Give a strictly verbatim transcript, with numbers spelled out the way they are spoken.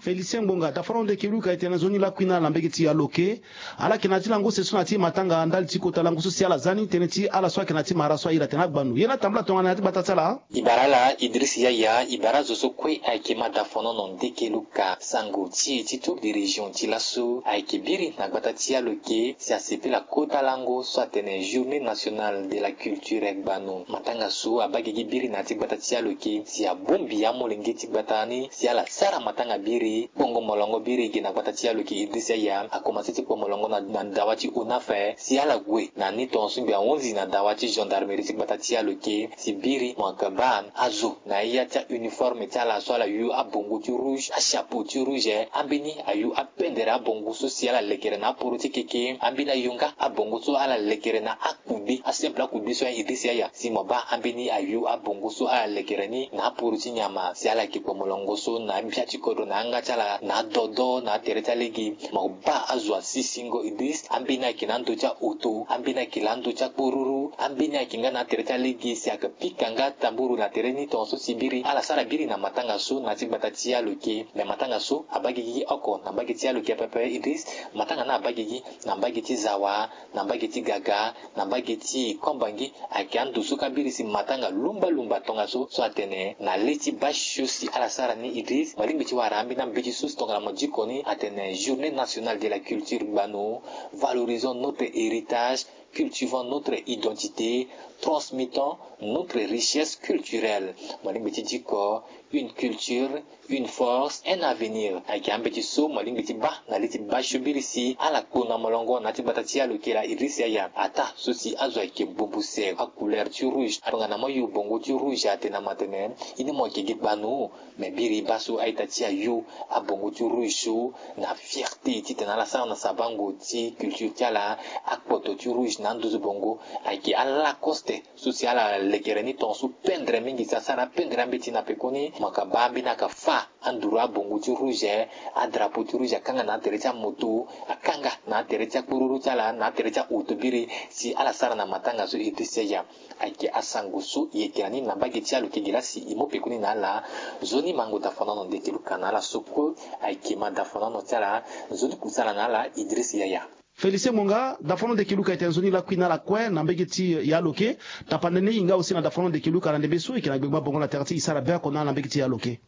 Félicien Ngbonga, dafa na ndeke Luka, e tene nzoni lakui na ala na mbege ti ya loke. Ala yeke na ya ti lango use so na ya ti matanga ndali ti kota lango so si ala za ni tënë ti ala so ayeke na ya ti mara so airi atene agbanu. Ye na tambula tongana na ya ti gbata ti ala. E bara ala Idriss Yaya, e bara azo so kue ayeke ma dafa na ndeke Luka, sango ti e ti tour de région ti laso ayeke biri na gbata ti ya loke si asepela kota lango so atene Journée Nationale de la Culture gbanu. Matanga so abaa gigi biri na ya ti gbata ti ya loke si abongbi amolenge ti gbata ni si ala sara matanga biri. Kpongo molongo biri ge na gbata ti ya loke Idriss Yaya akomanse ti kpo molongo na, na dawa ti ONAF si ala gue na ni tongaso mbi ahunzi na dawa ti gendarmerie ti gbata ti ya loke si biri mo yeke baa azo na ya ti a-uniforme ti ala so ala yu abongo ti rouge, achapeau ti rouge, ambeni ayu apendere abongo so si ala lekere na aporo ti keke, ambeni ayu nga abongo so ala lekere na akudi, asimple akudi so Idriss Yaya, si mo baa ambeni ayu abongo so ala lekere ni na aporo ti nyama si ala yeke kpo molongo so na abia ti kodro na yanga ti ala na adodo na atere ti alege. Mo baa azo asisingo Idriss, ambeni ayeke na ando ti aoto, ambeni ayeke na ando ti akporuru, ambeni ayeke nga na atere ti alege si ayeke pika nga tamburu na tere ni tongaso si biri ala sara biri na matanga so na ya ti gbata ti ya loke. Me matanga so abaa gigi oko na mbage ti ya loke pepe Idriss, matanga ni abaa gigi na mbage ti Zawa, na mbage ti Gaga, na mbage ti Kombangi, ayeke ando so kâ biri si matanga lumbalumba tongaso so atene na le ti basio si ala sara ni Idriss. Mo lingbi ti wara ambeni ambeti so si tongana mo diko ni atene Journée Nationale de la Culture gbanu, valorisons notre héritage, cultivons notre identité, transmettons notre richesse culturelle. Mo lingbi ti diko, une culture, une force, un avenir. Ayeke ambeti so mo lingbi ti baa na li ti basio biri si ala kpo na molongo na ya ti gbata ti ya loke laa Idriss Yaya. Ataa so si azo ayeke bongbi use acouleur ti rouge, tongana mo yu bongo ti rouge atene na mo atene, ini mo yeke gi gbanu. Me biri baa so a-ita ti ayu abongo ti rouge so na fierté titene ala sara na sabango ti culture ti ala. Akpoto ti rouge na anduzu bongo ayeke ala Lacoste so si ala lekere ni tongaso pendre mingi si asara apendre ambeti na pekoni. Mo yeke baa ambeni ayeke fâ anduru abongo ti rouge, adrapeau ti rouge akanga na atere ti amoto, akanga na atere ti akporuru ti ala na atere ti aoto biri si ala sara na matanga so Idriss Yaya. Ayeke asango so e yeke na ni na mbage ti aloke gi laa si e mu pekoni na ala. Nzoni mango dafa na ndeke Luka na ala so kue ayeke ma dafa na ti ala. Nzoni kusala na ala Idriss Yaya. Félicien Monga, dafa na ndeke Luka, e tene nzoni lakui na ala kue na mbage ti ya loke. Tapande ni e hinga aussi na dafa na ndeke Luka na ndembe so e yeke na gbengba bongo na tere ti e sara be oko na ala na mbage ti ya loke.